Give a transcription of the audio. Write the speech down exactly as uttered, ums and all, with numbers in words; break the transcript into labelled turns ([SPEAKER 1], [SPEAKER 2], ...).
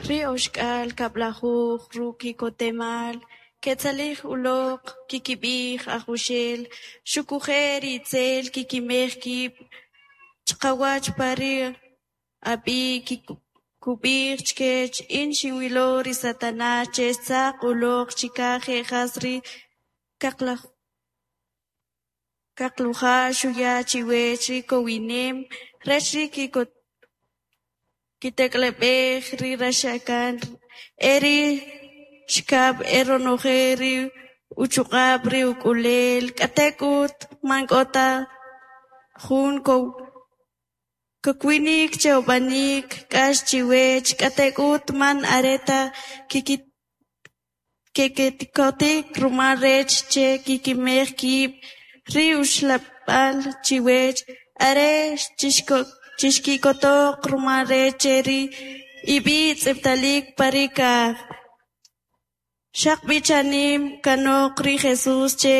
[SPEAKER 1] Ri oxk'al kab'lajuj ruk' ki'kotemal ketzalij uloq, kkib'ij: "Ajawxel, xoquje' ri itzel kkimej kib' chqawach pa ri ab'i'." Kub'ij chkech: "In xinwilo ri Satanas che xtzaq uloq chikaj je' jas ri kaqulja'. Xuya chiwech ri kowinem rech kitak'aleb'ej ri raxakan e ri xikab' e ronojel ri uchuq'ab' ri uk'ulel, k'atek'ut man k'o ta jun kakwinik che ub'anik k'ax chiwech. K'atek'ut, man are ta kixki'kotik rumal rech che kkimej kib' ri uxlab'al chiwech, are chixki'kotoq rumal rech che ri ib'i' tz'ib'atalik pa ri kaj." Xaqb'i' chanim kanoq, ri Jesus che